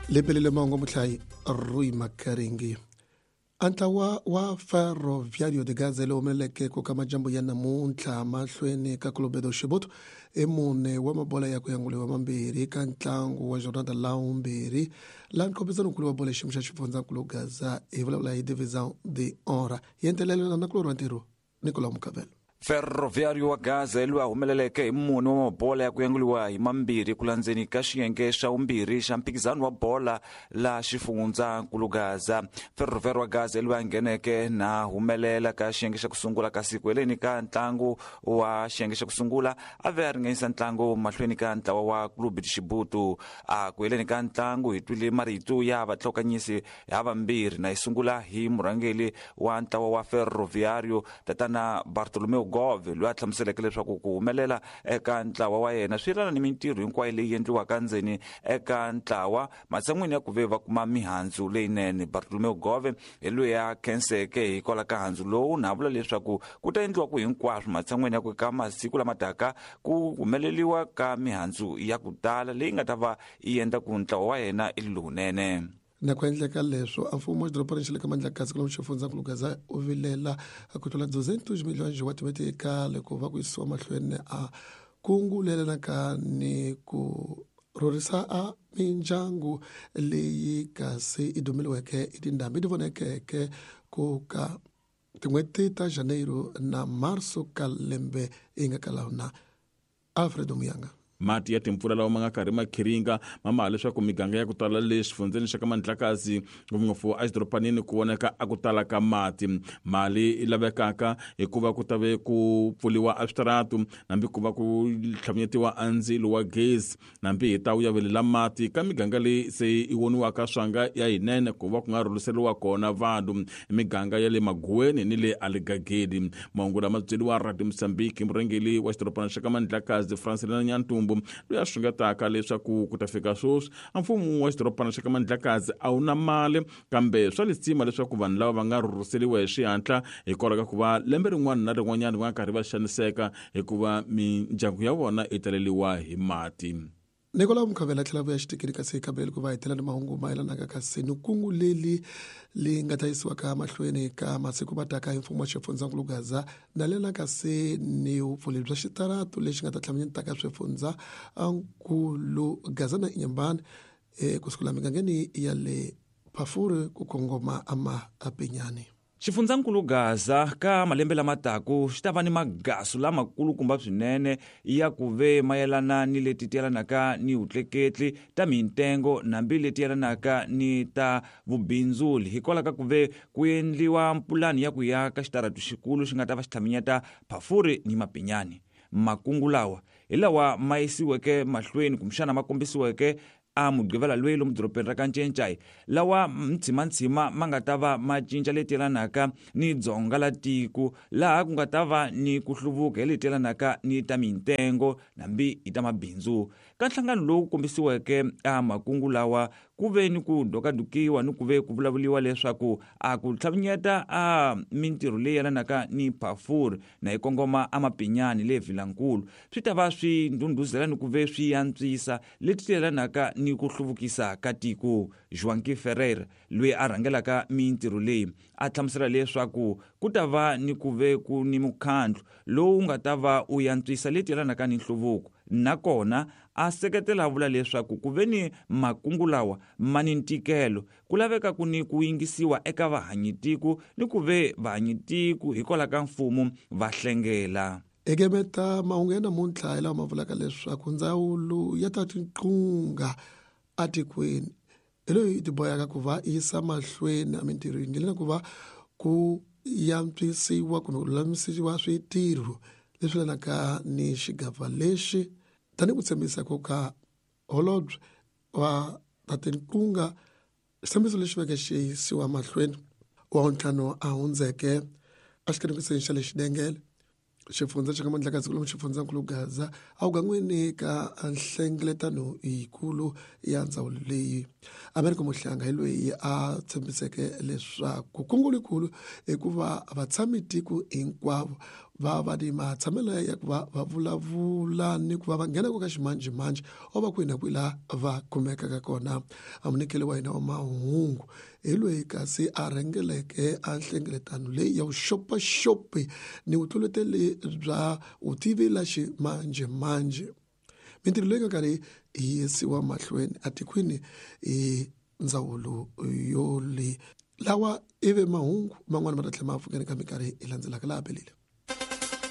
Lepelele mahungu muhlayi Rui Makaringi. A ntlawa wa Ferroviario de Gaza lowu humeleleke ku ka majambu ya namuntlha mahlweni ka Clube do Chibuto i mune wa mabola ya ku yanguliwa mambirhi ka ntlangu wa jornada la vumbirhi la nkhophisanonkulu wa bola xiyimo xa xifundzankulu Gaza hi vulavula hi Divisão de Honra yentelelana na kulorhi wa ntirho Nicolau Mukavelo. Ferroviario wa Gaza hi loyi a humeleleke hi mune wa mabola ya ku yanguliwa hi mambirhi ku landzeni ka xiyenge xa vumbirhi xa mphikizano wa bola la xifundzankulu Gaza. Ferroviario wa Gaza hi loyi a ngheneke na humelela ka xiyenge xa ku sungula kasi ku heleni ka ntlangu wa xiyenge xa ku sungula a ve a ringanyisa ntlangu mahlweni ka ntlawa wa Clube de Chibuto. A ku heleni ka ntlangu hi twile marito ya vatlhokanyisi havambirhi na yi sungula hi murhangeri wa ntlawa wa Ferroviario tatana Bartolomeu Gove loyi a hlamuseleke leswaku ku humelela eka ntlawa wa yena swi yelana ni mintirho hinkwayo leyi endliwaka ndzeni eka ntlawa matshan'wini ya ku ve va kuma mihandzu leyinene. Bartolomeu Gove hi loyi a khenseke hikwalaho ka handzu lowu na vula leswaku ku ta endliwa ku hinkwaswo matshan'wini ya ku ka masiku lama taka ku humeleliwa ka mihandzu ya ku tala leyi nga ta va yi endla ku ntlawa wa yena i lowunene. Na ku endleka leswo, a mfumo wa xidorobana xa le ka Mandlakazi kwalomu xifundzankulu Gaza u vilela ku tlula 200 milhonji wa timetikali ku va ku yisiwa mahlweni a kungu lelanaka ni ku rhurhisa a mindyangu leyi kasi i dumeliweke i tindhambi ti vonekeke ku ka tin'hweti ta Janeiro na Marso ka lembe yi nga ka lona. Alfredo Muyanga. Mati ya timpfula lawa ma nga karhi ma khiringa ma maha leswaku miganga ya ku tala le xifundzeni xa ka Mandlakazi, ngopfungopfu exidoropanini, ku vonaka a ku tala ka mati. Mali yi lavekaka hikuva ku ta ve ku pfuriwa a switaratu nambi ku va ku tlhavunyetiwa a ndzilo wa gezi nambi hi ta wu yavelela mati ka miganga leyi se yi voniwaka swanga ya yinene ku va ku nga rhurhiseriwa kona vanhu miganga ya le Maguweni ni le Aligagedi. Mahungu lama byeriwa Radio Mozambique hi murhangeri wa xidorobana xa ka Mandlakazi Francelina Nyantumbu loyi a xungetaka leswaku ku ta fika sweswi a mfumo wa xidorobana xa ka Mandlakazi a wu na mali kambe swa lisima leswaku vanhu lava va nga rhurhiseriwa hi xihatla hikwalaho ka ku va lembe rin'wana na rin'wanyana va nga karhi va xaniseka hikuva mindyangu ya vona yi taleriwa hi mati. Nicolau Mukhavela a tlhela vuya xitikini kasi hi ku va hetela ni mahungu mayelanaka kasi ni kungu leli li nga ta yisiwaka mahlweni ka masiku mataka hi mfumo wa xifundzankulu Gaza na lena kasi ni vupfuli bya xitaratu lexi nga ta tlhamanyetaka swifundza nkulu Gaza na Inhambane kusukela migangeni ya le Phafuri ku kongoma amapinyani. Xifundzankulu Gaza ka malembe lama taku xi ta va ni magasu lamakulukumba swinene ya ku ve mayelana ni leti ti yelanaka ni vutleketli ta mintengo nambi leti yelanaka ni ta vubindzuli hikwalaho ka ku ve ku endliwa mpulani ya ku yaka xitaratu xikulu xi nga ta va xi tlhaminyeta Phafuri ni Mapinyani. Makungu lawa hi lawa ma yisiweke mahlweni kumbexana ma kombisiweke a Mugqivela loyi lomu dorobeni ra ka Ncencai, lawa ntshimantshima ma nga ta va ma cinca leti yelanaka ni dzonga la tiko, laha ku nga ta va ni ku hluvuka hi leti yelanaka ni ta mintengo nambi hi ta mabindzu. Ka nhlangano lowu kombisiweke a makungu lawa ku ve ni ku dokadokiwa ni ku ve ku vulavuliwa leswaku a ku tlhavinyeta a mintirho leyi yelanaka ni Phafuri na yi kongoma a Mapinyani le Vilankulu swi ta va swi ndhundhuzela ni ku ve swi antswisa leti yelanaka ni ku hluvukisa ka tiko. Joaquim Ferreira, loyi a rhangelaka mintirho leyi, a hlamusela leswaku ku ta va ni ku ve ku ni mukhandlu lowu nga ta va u yantswisa leti yelanaka ni nhluvuko nakona a seketela a vula leswaku ku ve ni makungu lawa ma ni ntikelo ku laveka ku ni ku yingisiwa eka vahanyitiko ni ku ve vahanyitiko hikwalaho ka mfumo va hlengela. Ekemeta mahungu ya namuntlha hi lawa ma vulaka leswaku ndzawulo ya ta tinqunga atikweni hi loyi ti boheka ku va yisa mahlweni emintirhweni na ku va ku yantswisiwa kumbe ku lulamisiwa switirho leswi yelanaka ni xigava lexi tanihi ku tshembisa ko ka holobye wa ta tinqunga xitshembiso lexi veke xi yisiwa mahlweni wa ntlhanu a hundzeke exikanekiseni xa le xidengele xifundza xa ka Mandlakazi lomu xifundzankulu Gaza awugan'wini ka nhlengeletano yikulu ya ndzawulo leyi America Mohlanga hi loyi a tshembiseke leswaku kungu likulu hikuva vatshami tiko hinkwavo. Va va ni matshamelo ya ku va va vulavula ni ku va va nghena ku ka ximanjhemanjhe o va kwihi na kwihi laha va kumekaka kona. Amunikeli wa hina wa mahungu hi loyi kasi a rhengeleke a nhlengeletano leyi ya vuxopaxopi ni vutluleteli bya vutivi la ximanjhemanjhe. Mintirho leyi nga karhi yi yisiwa mahlweni atikweni hi ndzawulo yo leyi. Lawa ivi mahungu man'wana ma ta tlhela ma pfukeni ka minkarhi yi landzelaka laha belile.